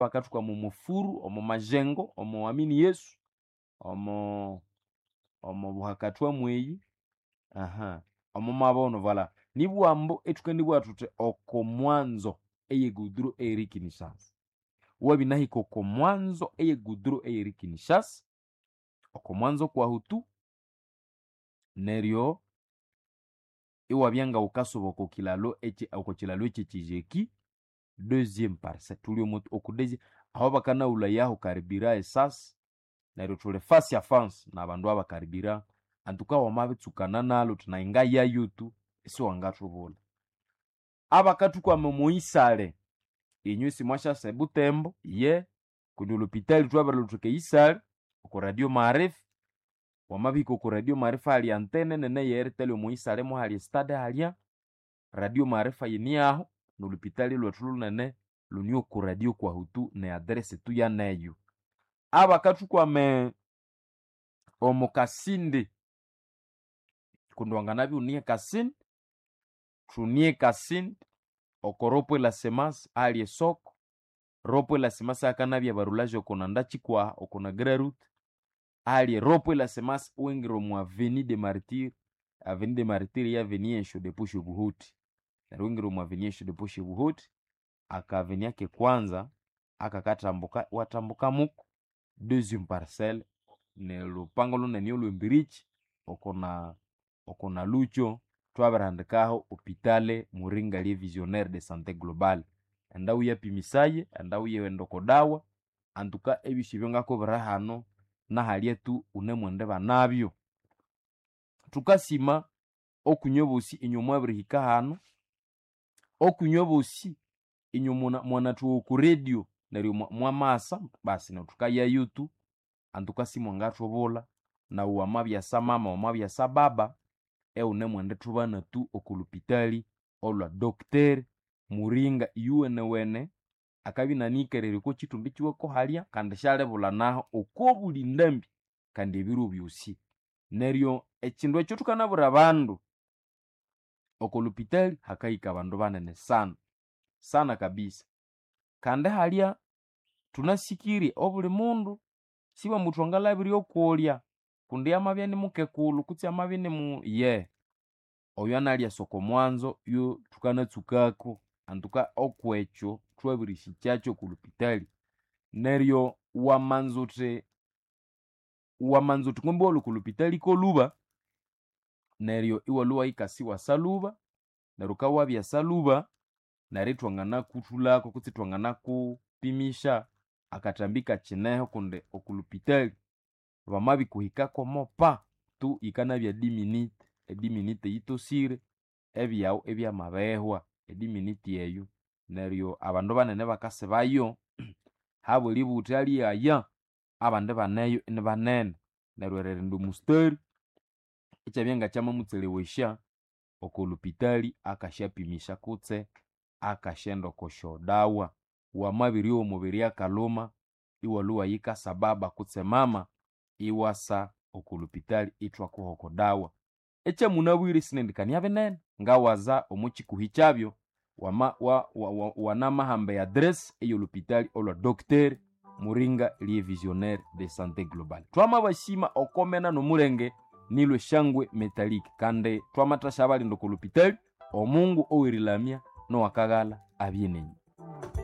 Bakathukwama omo furu, omo majengo, omo amini Yesu, omo omo buhakathwa mweyi, aha, omo mabono voilà. Nibughambo ithukendibugha thuthi oko mwanzo eye goudron eyiri Kinshasa. Wabinahika oko mwanzo eye goudron eyiri Kinshasa, oko mwanzo kwahu tu, neryo iwabya ngaghukasuba oko kilalo ekyi oko kilalo ekyekyijeki, deuxième parcelle, thuli omo oko deuxième aho bakanaghulhayaho karibira esasi, neryo thuli face à face nabandu abakaribira antuka wamabitsukana nalhu uthi nayi ngayayo tu isiwangathubulha. Abakathukwama omo isale, inywe isimwasyasa eButembo, ye kundi olhupitali thwabirilhutheka eisale oko radio maarifa, wamabihika oko radio maarifa hali antene nene eye Airtel omo isale muhali estade halya, radio maarifa yiniaho nolhupitali lhwethu lhunene lhune oko radio kwahu tu ne address tu yaneyo. Abakathukwama omo Kasindi, kundi wanganabya ighune eKasindi, thune eKasindi oko rond point la semence ahali esoko, rond point la semence hakanabya barulaje oko nanda kikwaha oko na grand route, ahali rond point la semence iwingira omo avenue de martyr, avenue de martyr ye avenue esyo depo syobuhuthi. Neryo iwingira omo avenue esyo depo syobuhuthi, aka avenue akekwanza akakathambuka iwathambuka muko deuxième parcelle nilhupango lhunene olhwembirikyi oko na oko na lukyo thwabirihandikaho hôpital Muringa le visionnaire de santé globale. Enda wuyapimisaye, enda wuyighenda oko dawa, antuka ebyosi ebyangakubwira hano nahalya tu wunemwenda banabyo. Thukasima okwinywe bosi inywe mwabirihika hano, okwinywe bosi inywe mwanathuwa oko radio neryo mwamasa basi neryo thukayayo tu antuka simwangathubulha nawu wamabyasa mama wamabyasa baba iwunemwendithubana tu oko lhupitali olhwa Doctor Muringa iyuwenewene akabya inanihikererye oko kithumbi kiwe ko halya kandi syalibulha naho oko buli ndambi kandi ebiro byosi. Neryo ekindu ekyo thukanabwira abandu, oko lhupitali hakahika abandu banene sana, sana kabisa. Kandi halya thunasikirye obuli mundu sibambu thwangalabirye okolya kundi amabya nimukekulhu kutse amabya nimu ye oyo analyasa oko mwanzo yo thukanatsukako antuka okwekyo thwabirisikyakyo oko lhupitali. Neryo wamanza uthi wamanza uthi kumbe iwalhwa oko lhupitali kolhuba, neryo iwalhwa iwayikasa iwasa lhuba, neryo wukabya wabyasa lhuba, neryo ithwanganakuthulhako kutse ithwanganakupimisha akathambi kakineho kundi oko lhupitali bamabikuhikako mopa tu yikanabya diminite, ediminite yitosire ebyaghu ibyamabihwa ediminite eyo. Neryo abandu banene bakasibayo habweributhi alighaya abandi baneyo inibanene neryo eririnda omustari ikyabya ngakyamamutselewesya oko lhupitali akasyapimisya kutse akasyenda oko syodawa. Wamabiryowa omubiri akalhuma iwalhwa iwayikasa baba kutse mama iwasa oko lhupitali ithwakuha oko dawa. Ekyamunabwire sinendikania binene ngawaza omo kikuhi kyabyo wama wanamahamba e address eyolhupitali olhwa Doctor Muringa le visionnaire de santé globale. Twamabasima okomena nomulenge nilwe shangwe metallic kandi twamathasya abalinda oko lhupitali omungu owerilamya nowakaghalha abye nenyu.